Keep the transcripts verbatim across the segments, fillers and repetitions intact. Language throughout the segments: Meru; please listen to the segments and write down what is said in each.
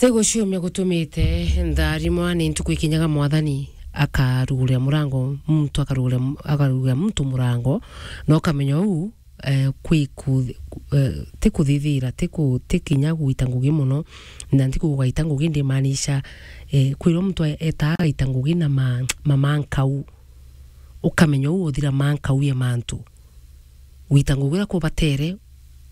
Ti guciumia gutumite ntharimwa ni ntuku ikinyaga Mwathani akarugurira murango, muntu akarugurira, akarugurira muntu murango, na ukamenya uu, eh, kwi ku-, eh, ti kuthithira, ti ku-, ti kinya gwita ngugi mono, na nti kuuga gaita ngugi ndimaanisha, eh, kwirwa muntu e-, etaa gaita ngugi na ma-, mamankau. Ukamenya uu uthira mankau ya mantu. Gwita ngugi uria kubatere,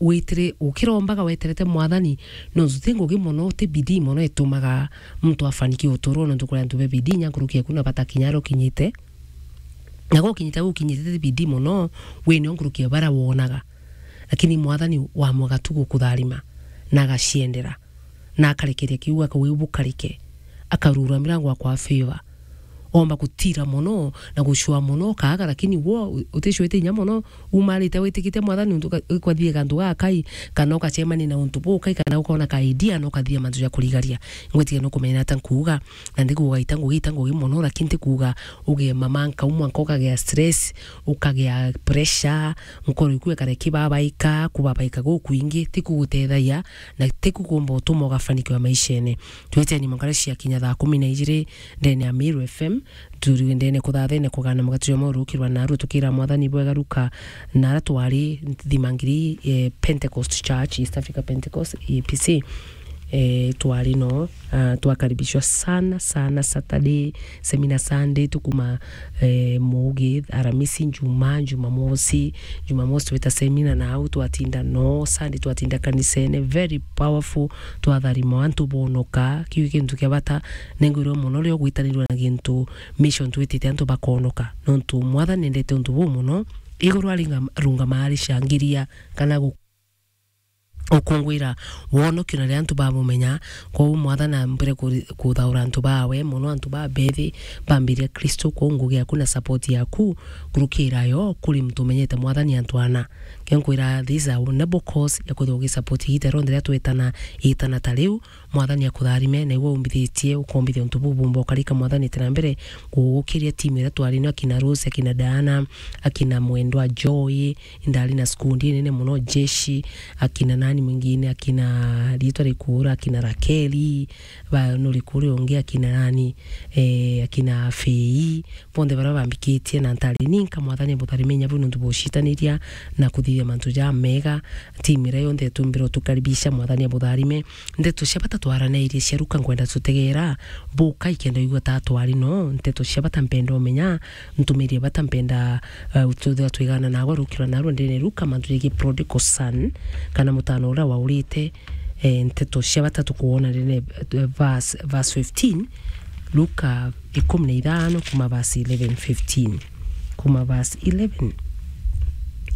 witire, ukirombaga weterete Mwathani, nontu ti ngugi mono, ti bidii mono itumaga muntu afanikiwe uturone, nontu kuri antu be bidii inya nkuruki eku na batakinya aria ukinyite. Na gukinyite, gukinyite ti bidii mono, wi nio nkuruki ya baria wonaga. Lakini Mwathani wamwaga tu gukutharima, na agaciendera, na akarekeria kiugo, akauga, "Bukarike." Akarura mirango akwa favor. Omba gutira mono na gucua mono, ukaaga, lakini wo uticwite inya mono, umarite witikite Mwathani untu ka-, ukathiega antu gakai, kana ukacemania na untu bukai, kana ukona ka idea na ukathia mantu ja kurigaria. Ngwetiga nukumenya ata nkuuga, na ndikuuga ita ngugi, ita ngugi mono, lakini ndikuuga ugie mamankau mwanka ukagea stress, ukagea pressure, nkoro iku ikare kibabaika, kubabaika gukwingi, tikugutethagia, na tikukumba utuma ugafanikiwa maishene. Tweteni mangare cia kinya thaa kumi na ijiri ndene ya Meru F M, turi ndene kuthathene kugana mugati jwa mweru ukirwa naru tukira Mwathani bwega ruka nara twari thimangiri, eh, Pentecost Church, East Africa Pentecost, E A P C. Eh, twari no, ah, twakaribishwa sana, sana Saturday, seminar Sunday, tukuma, eh, Mugi, Aramisi, Njuma, Jumamosi, Jumamosi twita seminar na au twatinda no, Sunday twatinda kanisene, very powerful, twatharima antu bonoka, kiu kintu kia bata, nengwirwa mono rio gwitanirwa na gintu mission twitite antu bakonoka, nontu Mwathani endete untu buu mono, iguru aringa-, rungamaa aricangiria kana gu-, ukungwira wonokio na riria antu babumenya. Kwou Mwathani ambire ku-, kuthaura antu bawe, mono antu babethi bambiria Kristo. Kwou ngugi yaku na support yaku, nkurukira yo kuri muntu umenyete Mwathani antu ana. Ke nkwira, this is our noble cause ya kwithirwa ugisupport igita rionthe riria twetana, itana ta riu, Mwathani akutharime, na iwe umbithitie, ukombithia untu buu bumba ukarika. Mwathani ite na mbere kugukiria timu iria twari nayo, akina Rose, akina Diana, akina Mwendwa Joy, indari na skundi inene mono, Jeshi, akina nani mwingine, akina riitwa rikura, akina Rakeli, ba, nuri kuri ungi, akina nani, eh, akina Fei, bonthe baria bambikitie na ntari ninka. Mwathani abutharime inya buu nontu bucitaniria na kuthithia mantu jamega. Timu iria yonthe itumbire utukaribisha, Mwathani abutharime. Ndeto cia bata twaranairie cia Ruka nkwenda tutegeera buka ikenda igua ta twari no. Ndeto cia bata mpenda umenya, ntumirie bata mpenda, uh, tuthira twigana nagwa rukirwa narua ndene Ruka mantu jegii prodigal son, kana mutano uria waurite. Eh, nteto cia bata tukwona ndene, eh, verse, verse fifteen, Luka ikumi na ithano kuma verse eleven, fifteen. Kuma verse eleven.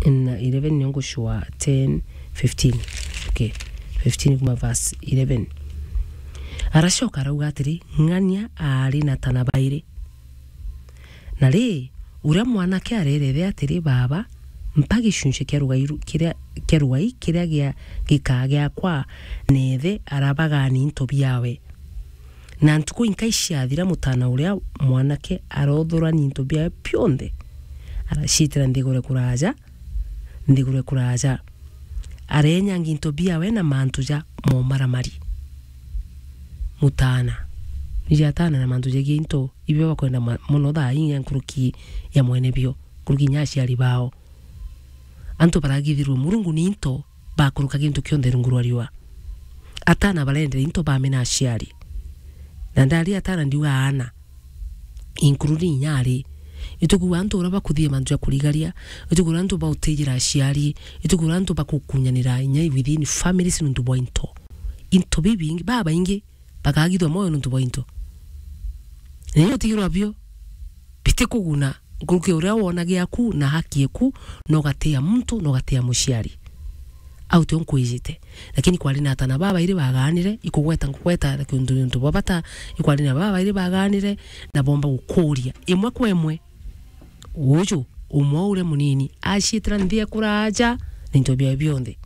Na eleven nio ngucua ten, fifteen. Okay. Fifteen kuma verse eleven. Aracoka arauga atiri, "Ng'ania aari na tana bairi. Na ri, uria mwanake areera ithe atiri, 'Baaba, mpa gicunci kia rugai ru-, kiria, kia rugai kiria gia, gikaa giakwa,' na ithe arabagaani into biawe. Na ntuku inkai ciathira, mutaana uria mwanake arothurania into biawe bionthe, araciitira nthiguru kuraaja, nthiguru kuraaja. Areenyangia into biawe na mantu ja momaramari." Mutaana. Ija ataana na mantu jegii into, ibio bakwenda ma-, mono thaa ii nkuruki ya mwene bio, nkuruki inya aciari bao. Antu baragithirwe Murungu ni into, bakuruka gintu kionthe rungu rwa riua. Ataana barendera into bamena aciari. Na ndari ataana ndiuga aana, including inya ari. Itukuuga antu uria bakuthithia mantu ja kurigaria, itukuuga antu bautijira aciari, itukuuga antu bakukunyanira inya within families nuntu bwa into. Into bibingi, babaingi bakagithwa moyo nuntu bwa into. Na inya utigirwa bio, bitikuguna nkuruki uria wona giaku na haki eku, na ugatia muntu, na ugatia muciari. Au tio nkwijite. Lakini kwari na atana babairi bagaanire, ikugweta ngugweta kiuntu, untu bwa bata, ikwari na babairi bagaanire, na bomba gukuria imwe kwa imwe. Uju, umwe uria munini, aciitira nthi ya kuraaja na into biawe bionthe.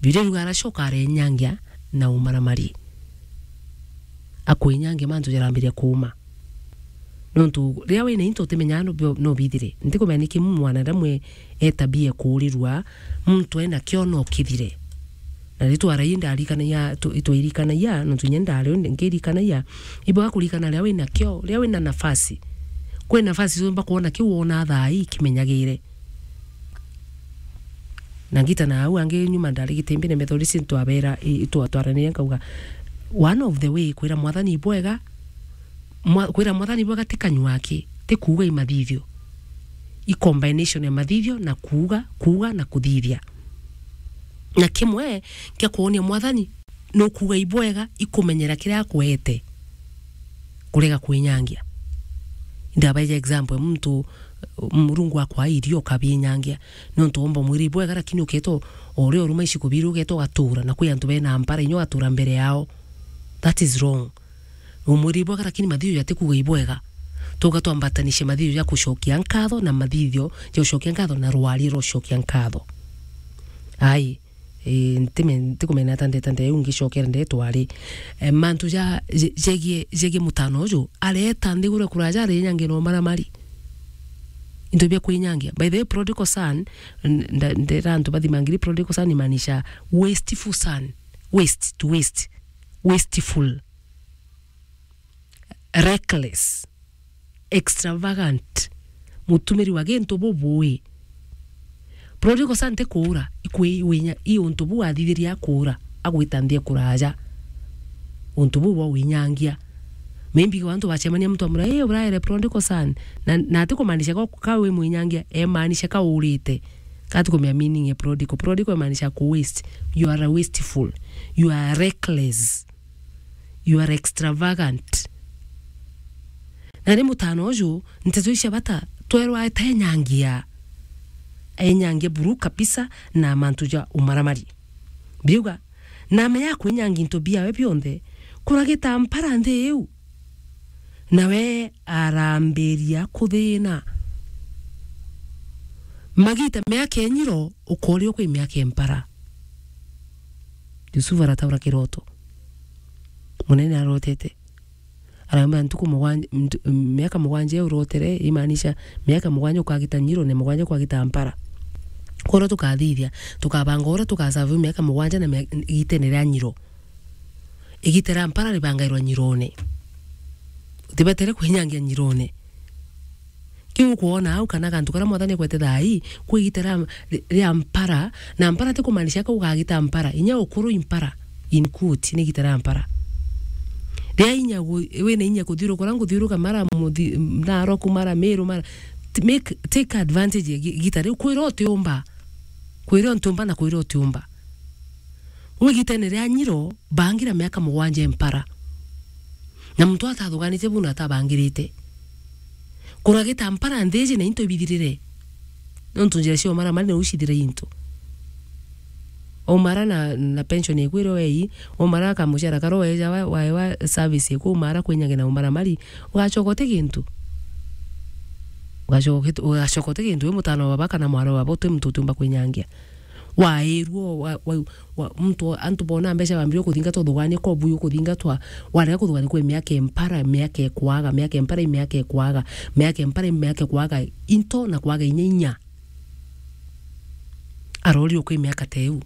Bibilia iruga aracoka arenyangia na umaramari. Akwenyangia mantu jarambiria kuuma. Nontu riria wina into utimenyaga no bio-, no bithire. Ntikumenya niki mwana riria mwe etabia kuurirua, muntu ena kio no kithire. Na ritwa rai ndarikanagia, tu-, itwairikanagia, nontu inya ndari o ngirikanagia, ibwega kurikana riria wina kio, riria wina nafasi. Kwi nafasi uumba kwona kiu wona thaa ii kimenyagire. Na ngita na au angi nyuma ndari Gitimbine Methodist ntwabera, i-, itwatwaraniria nkauga, one of the way kwira Mwathani ibwega, mwa-, kwira Mwathani ibwega ti kanyua aki, ti kuuga i mathithio. I combination ya mathithio na kuuga, kuuga na kuthithia. Na kimwe kia kwonia Mwathani nukuuga ibwega ikumenyera kiria akuete, kurega kwinyangia. Ndabaija example, muntu, Murungu akwa irio ukabinyangia, nontu womba mwiri ibwega, lakini uketa o uria uruma ici kubiri, uketa ugatura, na kwi antu bena mpara, inya ugatura mbere yao. That is wrong. Umwiri ibwega, lakini mathithio jatikuuga ibwega. Tuga twambatanishe mathithio ja kucokia nkatho na mathithio ja gucokia nkatho na rwaria rwa gucokia nkatho. Ai, eh, ntime-, ntikumena ata ndeta ndeu ngicokera ndetwa ri. Eh, mantu ja, je-, jegie, jegie mutano uju, areta nthiguru kuraja arinyangia na umaramari. Into bia kwinyangia. By the way, prodigal son, n-, nda-, ndera antu bathimangiri prodigal son imaanisha wasteful son. Waste, to waste. Wasteful. Reckless, extravagant, mutumiri wa gintu bubui. Prodigal son ti kuura, ikwi-, winya-, i untu buu athithirie akuura, agwita nthi ekuraja. Untu buu bwa winyangia. Maybe kwa antu bacemania muntu amura, "Eh, uraere prodigal son." Na, na ati kumaanisha ka, ka wi mwinyangia, emaanisha ka urite. Ka ati kumenya meaning ya prodigal. Prodigal emaanisha ku waste. You are a wasteful. You are reckless. You are extravagant. Na ri mutano uju, nteto icia bata, twerwa atenyangia. Enyangia buru kabisa na mantu ja umaramari. Biuga, na amenya kwinyangia into biawe bionthe, kuragita mpara nthi iu. Nawe arambiria kuthina. Magita miaka enyiro, ukorio kwi miaka empara. Yusufu arataura kiroto. Munene arotete. Araumbira ntuku mugwanja, ntu-, miaka mugwanja iu urotere, imaanisha miaka mugwanja ukagita nyiro na mugwanja ukagita mpara. Kworo tukathithia, tukabanga uria tugasavu miaka mugwanja na mia-, igitene ria nyiro. Igita ria mpara ribangairwa nyirone. Utibatere kwinyangia nyirone. Kiu ukwona au kana gantu karia Mwathani ekwete thaa ii, kwi igita ria, ria mpara, na mpara ti kumaanisha ka ugagita mpara, inya ukuru i mpara, in quote, ni igita ria mpara. Ria inya gu-, wina inya kuthiuruka uria nguthiuruka mara muthi-, Narok, mara Meru, mara, t-, make, take advantage ya gi-, igita riu, kwira utiumba, kwira utiumba na kwira utiumba. Uu igitene ria nyiro, bangira miaka mugwanja mpara. Na muntu atathuganite buu na atabangirite. Kuragita mpara nthi iji na into ibithirire. Nontu njira cia umaramari nau cithire into. Umara na, na pension ikwire wei, umara kamucara karia weja wa, wa, wa service iku, umara kwinyange na umaramari, ugacoka uti gintu. Ugacoka uti, ugacoka uti gintu, wi mutano wa baba kana mwari wa baba, uti muntu utiumba kwinyangia. Wairwo, wa, wa, wa, muntu, antu bona mbeca bambirie kuthingatwa, uthugania kobu ukuthingatwa, warega kuthugania kwi miaka empara, miaka ekwaga, miaka empara, miaka ekwaga, miaka empara, miaka ekwaga, into na kwaga inya inya. Arori ukwi miaka teu.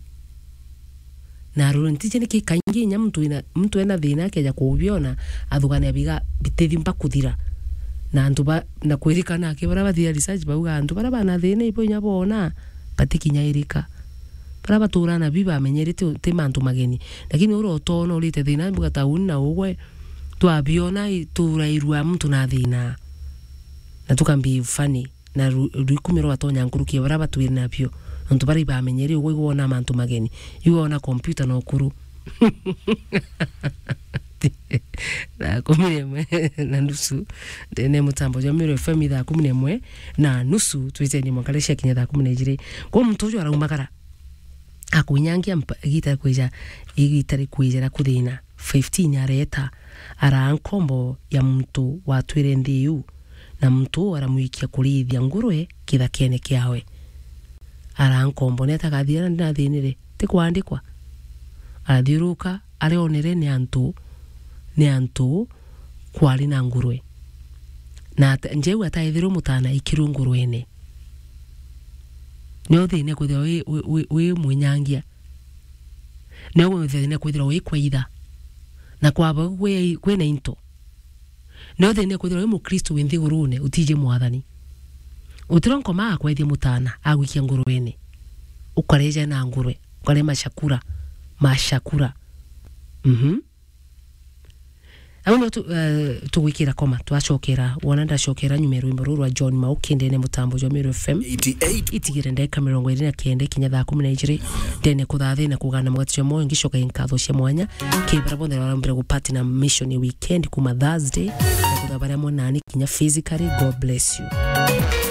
Na arori ntije niki kaingi inya muntu ina, muntu ena thina akeja kubiona, athugania biga bitithimba kuthira. Na antu ba, na kwirikana aki bara bathia research bauga antu bara bana thina ibo inya bona, batikinyairika. Bara batura na bi bamenyere ti, ti mantu mageni. Lakini ura utona urite thina, mbuga tauni na ugwe, twabiona i-, turairua muntu na thina. Na tukambi funny. Na ru-, ruikumi rwatonya nkuruki ya bara batwire nabio. Nontu bara ibamenyere ugwe igwona mantu mageni. Igwona computer na ukuru. Thaa kumi na imwe na nusu, ndene mutambo jwa Meru F M thaa kumi na imwe na nusu, twicenie mwanka riria ciakinya thaa kumi na ijiri. Kwou muntu uju araumagara, akwinyangia mpa-, igita rikwija, igita rikwija ria kuthina. Fifteen areta, araa nkombo ya muntu watwire nthi iu, na muntu uu aramwikia kurithia ngurwe kithakene kiawe. Araa nkombo, ni ata agathithia na ndinathinire? Ti kwandikwa. Arathiuruka, arionere ni antu, ni antu kwari na ngurwe. Na at-, njeu ataithirwe mutana ikirwe ngurwene. Nio thina kwithirwa wi, wi, wi, wi mwinyangia. Nio thina kwithirwa wi kwa itha. Na kwaba kwi, kwina into. Nio thina kwithirwa wi Mukristo wi nthigurune, utiji mwathani. Utiro nkoma akwethia mutana, agwikia ngurwene. Ukareja na ngurwe, ukare mashakura, mashakura. Mhm. Au no tu, eh, tugwikira koma, twacokera, wona ndacokera nyuma ya rwimbo ruru rwa John Mauki ndene mutambo jwa Meru F M. Eighty-eight. Itigire ndeka mirongo iri na kenda kinya thaa kumi na ijiri, ndene kuthathina kugana mugati jwa moyo, ngicoka nkatho cia mwanya, kibara bonthe barambire gupati na mission ya weekend kuma Thursday, na kutha baria mwanani kinya physically, God bless you.